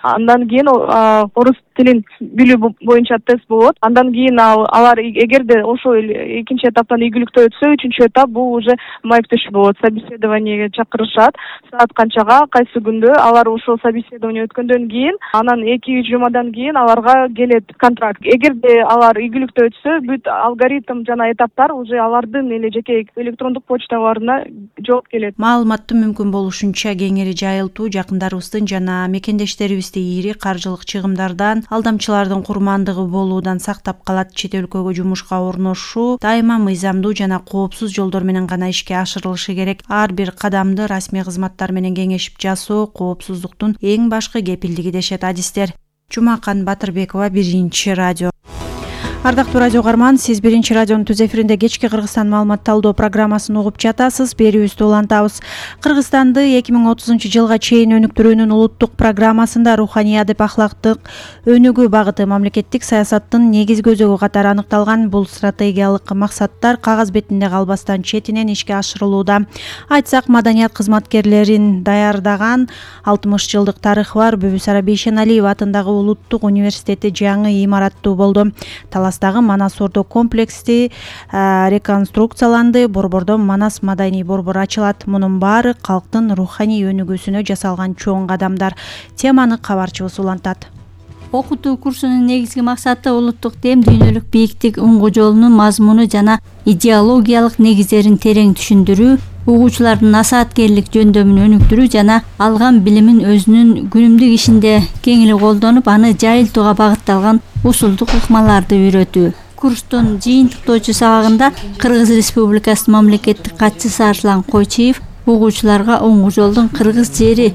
Андан кийин орус тилин билүү боюнча тест болот. Андан кийин алар эгерде ошол экинчи этаптан ийгиликтүү өтсө, үчүнчү этап бул уже маектешүү болот. Собеседованиеге чакырышат. Саат канчага, кайсы күндө алар ошол собеседование өткөндөн кийин, анан 2-3 жумадан кийин аларга келет контракт. Эгерде алар ийгиликтүү өтсө, бүт алгоритм жана этаптар уже алардын эле жеке электрондук почталарына жооп келет. Маалыматты мүмкүн болушунча кеңири жайылтуу жакындарыбыздын жана мекендештерибизди ири каржылык чыгымдардан, алдамчылардын курмандыгы болуудан сактап калат. Чет өлкөгө жумушка орношуу дайыма мыйзамдуу жана коопсуз жолдор менен гана ишке ашырылышы керек. Ар бир кадамды расмий кызматтар менен кеңешип жасоо коопсуздуктун эң башкы кепилдиги дешет адистер. Жумакан Батырбекова, Биринчи радио. Ардактуу радио угарман, сиз Биринчи радионун түз эфиринде кечки Кыргызстан маалымат талдоо программасын угуп жатасыз. Берүүбүздү улантабыз. Кыргызстанды 2030-жылга чейин өнүктүрүүнүн улуттук программасында руханий адеп ахлактык өнүгүү багыты мамлекеттик саясаттын негизги өзөгү катары аныкталган. Бул стратегиялык максаттар кагаз бетинде калбастан четинен ишке ашырылууда. Айтсак, маданият кызматкерлерин даярдаган 60 жылдык тарыхы бар Бүбүсара Бейшеналиев атындагы улуттук университети жаңы имараттуу болду. Таластагы Манас Ордо комплексти реконструкцияланды. Борбордо Манас маданий борбору ачылат. Мунун баары калктын руханий өнүгүүсүнө жасалган чоң кадамдар. Теманы кабарчыбыз улантат. Окутуу курсунун негизги максаты улуттук дем, дүйнөлүк бийиктик уңгу жолунун мазмуну жана идеологиялык негиздерин терең түшүндүрүү, угуучулардын насааткерлик жөндөмүн өнүктүрүү жана алган билимин өзүнүн күнүмдүк ишинде кеңири колдонуп, аны жайылтууга багытталган усулдук ыкмаларды үйрөтүү. Курстун жыйынтыктоочу сабагында Кыргыз Республикасынын мамлекеттик катчысы Арслан Койчиев угуучуларга уңгу жолдун кыргыз жери,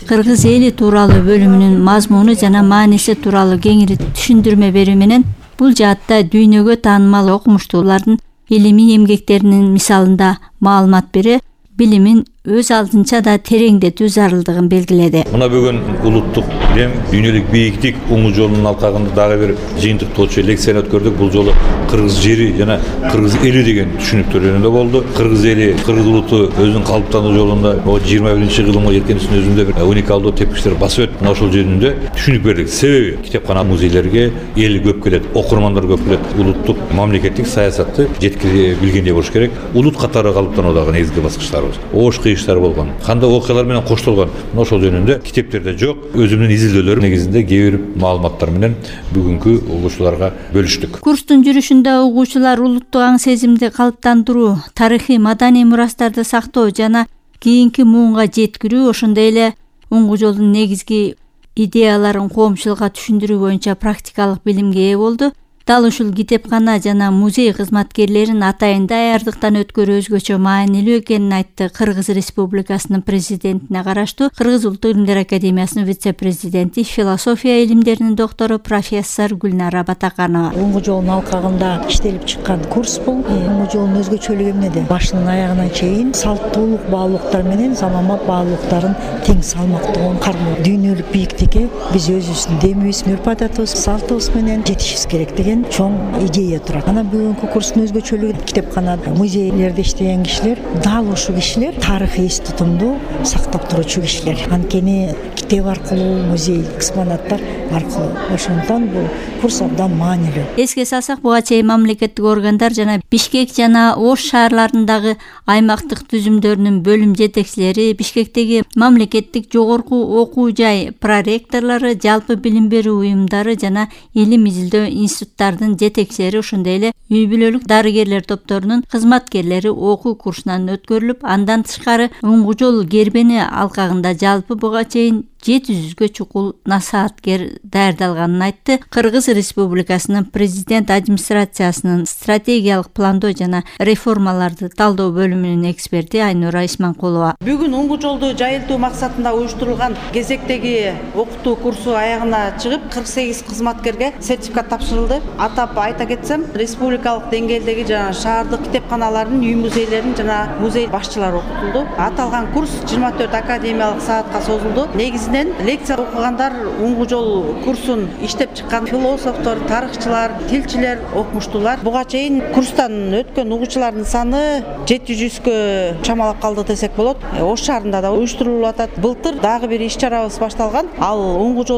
кыргыз эли тууралуу бөлүмүнүн мазмуну жана мааниси тууралуу кеңири түшүндүрмө берүү менен бул жаатта дүйнөгө таанымал окумуштуулардын илимий эмгектеринин мисалында маалымат бере, билимин өз алдынча да тереңдетүү зарылдыгын белгиледи. Мына бүгүн улуттук дем, дүйнөлүк бийиктик уңгу жолунун алкагында дагы бир жыйынтыктоочу лекцияны өткөрдүк. Бул жолу кыргыз жери жана кыргыз эли деген түшүнүктөр жөнүндө болду. Кыргыз эли, кыргыз улуту өзүнүн калыптануу жолунда 21-кылымга жеткенисинин өзүндө бир уникалдуу тепкичтер басып өтүп, ошол жөнүндө түшүнүк бердик. Себеби китепкана, музейлерге эл көп келет, окурмандар көп келет. Улуттук мамлекеттик саясатты жеткире билгендей болуш керек. Улут катары калыптануудагы негизги баскычтарыбыз. Оош кыйыштар болгон, кандай окуялар менен коштолгон, ошол жөнүндө китептерде жок. Өзүмдүн изилдөөлөрүм негизинде кээ бир маалыматтар менен бүгүнкү угуучуларга бөлүштүк. Курстун жүрүшүндө угуучулар улуттук аң сезимди калыптандыруу, тарыхый маданий мурастарды сактоо жана кийинки муунга жеткирүү, ошондой эле уңгу жолдун негизги идеяларын коомчулукка түшүндүрүү боюнча практикалык билимге ээ болду. Дал ушул китепкана жана музей кызматкерлерин атайын даярдыктан өткөрүү өзгөчө маанилүү экенин айтты Кыргыз Республикасынын президентине караштуу Кыргыз Улуттук Илимдер Академиясынын вице-президенти, философия илимдеринин доктору профессор Гүлнара Батаканова. Уңгу жолдун алкагында иштелип чыккан курс бул. Уңгу жолдун өзгөчөлүгү эмнеде? Башынан аягына чейин салттуулук баалуулуктар менен заманбап баалуулуктарын тең салмактуу кармоо. Дүйнөлүк бийиктикке биз өзүбүздүн демибиз, үрп-адатыбыз, салтыбыз менен жетишибиз керек деген чоң идея турат. Анан бүгүнкү курстун өзгөчөлүгү китепканада, музейлерде иштеген кишилер, дал ушул кишилер тарыхый эс тутумду сактап туруучу кишилер. Анткени китеп аркылуу, музей экспонаттар аркылуу. Ошондон бул курс абдан маанилүү. Эске салсак, буга чейин мамлекеттик органдар жана Бишкек жана Ош шаарларындагы аймактык түзүмдөрүнүн бөлүм жетекчилери, Бишкектеги мамлекеттик жогорку окуу жай проректорлору, жалпы билим берүү уюмдары жана илим изилдөө институттары жетекчилери, ошондой эле үй бүлөлүк дарыгерлер топторунун кызматкерлери окуу курсунан өткөрүлүп, андан тышкары уңгу жол кербени алкагында жалпы буга чейин 700-гө чукул насааткер даярдалганын айтты. Кыргыз Республикасынын президент администрациясынын стратегиялык пландоо жана реформаларды талдоо бөлүмүнүн эксперти Айнура Исманкулова. Бүгүн уңгу жолду жайылтуу максатында уюштурулган кезектеги окутуу курсу аягына чыгып, 48 кызматкерге сертификат тапшырылды. Атап айта кетсем, республикалык деңгээлдеги жана шаардык китепканалардын, үй музейлеринин жана музей башчылары окутулду. Аталган курс 24 академиялык саатка созулду. Негизинен негизинен лекция окугандар уңгу жол курсун иштеп чыккан философтор, тарыхчылар, тилчилер окумуштуулар. Буга чейин курстан өткөн угуучулардын саны 700-кө чамалап калды десек болот. Ош шаарында да уюштурулуп атат. Былтыр дагы бир иш чарабыз башталган. Ал уңгу жол